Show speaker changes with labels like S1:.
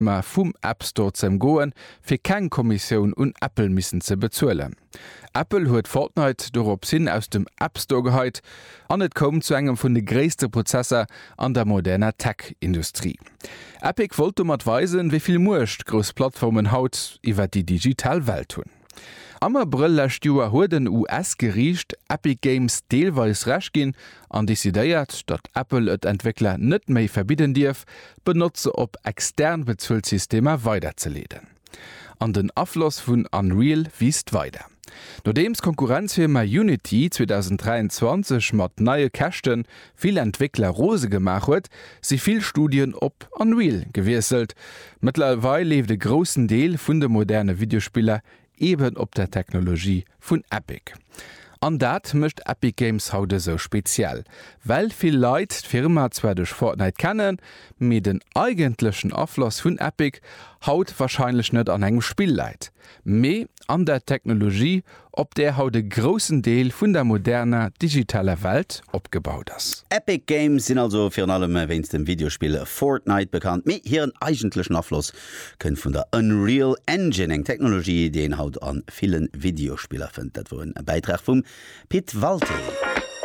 S1: Vum App Store ze emgoen, fir keng Kommissioun un Apple missen ze bezuelen. Apple huet Fortnite dorops hin aus dem App Store geheit an et koum zu engem vun de gréisste Prozesser an der moderner Tech-Industrie. Epic wollt domat weisen, wéi vill Muecht grouss Plattformen haut iwwer déi digital Welt hunn. Am Abrëll lescht Joer huet en US-Geriicht Epic Games deelweis Recht ginn an decidéiert, datt Apple et Entwéckler net méi verbidden dierf, d'Benotzer op extern Bezuelsystemer weiderzeleeden. An den Afloss vun Unreal wiisst weider. Nodeems d'Konkurrenzfirma Unity 2023 mat neie Käschte vill Entwéckler rose gemaach huet, si vill Studien op Unreal gewiesselt. Mëttlerweil leeft e groussen Deel vun de moderne Videospiller eben op der Technologie vun Epic. An dat mécht Epic Games haut esou speziell, well vill Leit d'Firma zwar duerch Fortnite kennen, mee den eigentlechen Afloss vun Epic haut warscheinlech net an engem Spill läit, mee an der Technologie, op där haut e groussen Deel vun der moderner digitaler Welt opgebaut ass.
S2: Epic Games sinn also virun allem wéinst dem Videospill Fortnite bekannt, mee hiren eigentlechen Afloss kënnt vun der Unreal Engine, eng Technologie, déi een haut a ville Videospiller fënnt. Dat wor en Bäitrag vum Pit Walté.